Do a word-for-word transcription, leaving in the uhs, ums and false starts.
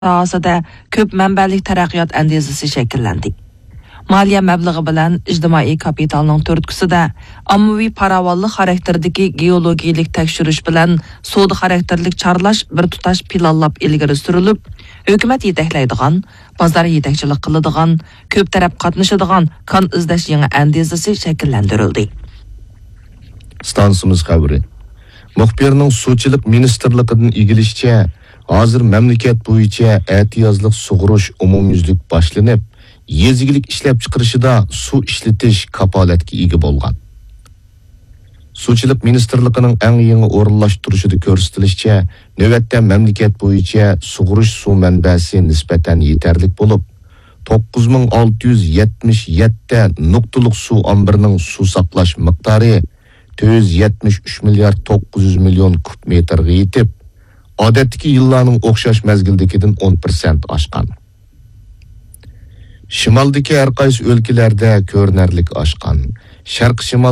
ساھەسىدە كۆپ مەنبەلىك تەرەققىيات ئەندىزىسى شەكىللەندى. مالىيە مەبلىغى بىلەن ئىجتىمائىي كاپىتالنىڭ تۈرتكىسىدە ئاممىۋى پاراۋانلىق خاراكتېرىدىكى گېئولوگىيەلىك تەكشۈرۈش بىلەن سودا خاراكتېرلىك چارلاش بىر تۇتاش پىلانلاپ ئىلگىرى سۈرۈلۈپ، ھۆكۈمەت يېتەكلەيدىغان، بازار يېتەكچىلىك قىلىدىغان، كۆپ تەرەپ قاتنىشىدىغان كان ئىزدەش يېڭى ئەندىزىسى شەكىللەندۈرۈلدى. ئىستانسىمىز خەۋىرى. مۇخبىرنىڭ سۇچىلىق مىنىستىرلىقىدىن ئىگىلىشىچە، ھازىر مەملىكەت بويىچە ئەتىيازلىق سۇغۇرۇش ئومۇميۈزلۈك باشلىنىپ، يېزا ئىگىلىك ئىشلەپچىقىرىشىدا سۇ ئىشلىتىش كاپالەتكە ئىگە بولغان. سۇچىلىق مىنىستىرلىقىنىڭ ئەڭ يېڭى ئورۇنلاشتۇرۇشىدا كۆرسىتىلىشىچە، نۆۋەتتە مەملىكەت بويىچە سۇغۇرۇش سۇ مەنبەسى نىسبەتەن يېتەرلىك بولۇپ، توققۇز مىڭ ئالتە يۈز يەتمىش يەتتە نۇقتىلىق سۇ ئامبىرىنىڭ سۇ ساقلاش مىقدارى تۆت يۈز يەتمىش ئۈچ مىليارد توققۇز يۈز مىليون كۇب مېتىرغا يېتىپ، ئادەتتىكى يىللارنىڭ ئوخشاش مەزگىلدىكىدىن ئون پىرسەنت ئاشقان. شىمالدىكى ھەر قايسى ئۆلكىلەردە كۆرۈنەرلىك ئاشقان. شەرقىي شىمال